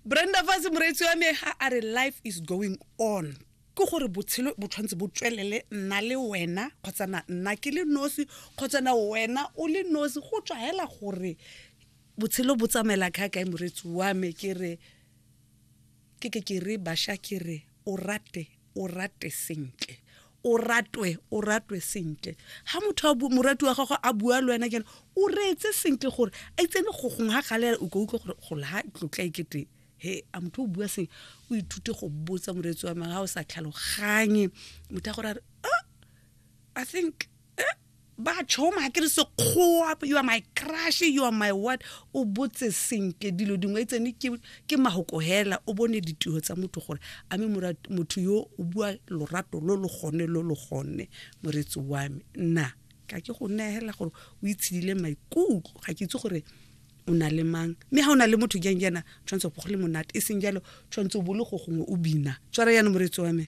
Brenda Fassie, moreetsi wa me, ga a re life is going on, ke gore botshelo bo tshwanetse bo tswelele, nna le wena, kgotsa na nna ke le nosi, kgotsa na wena o le nosi, go tswa hela gore botshelo bo tsamaela ka kae. Moreetsi wa me, ke re ke re bašwa, ke re o rate, o rate sentle, o ratwe, o ratwe sentle. Ga motho a morati wa gago a bua le wena kene, o reetse sentle gore a itsene go gongwe ga galela, o ka utlwa gore go la tlotla ekete he a motho o bua seng. O ithute go botsa, moreetsi wa me, ga o sa tlhaloganye motho a gore a re, "Ah, I think ba tšhoma ke re Sekgowa, you are my crush, you are my what." O botse sentle dilo dingwe tsene ke mahoko hela, o bone ditiro tsa motho gore a mme motho yo o bua lorato lo lo gone lo lo gone. Moreetsi wa me, nna ka ke go neela gore o itshedile maikutlo. Ga ke itse gore o na le mang, mme ga o na le motho jang jaana, tshwanetse go le monate, e seng jalo tshwanetse o bo le go gongwe o bina. Tshwara yana, moreetsi wa me.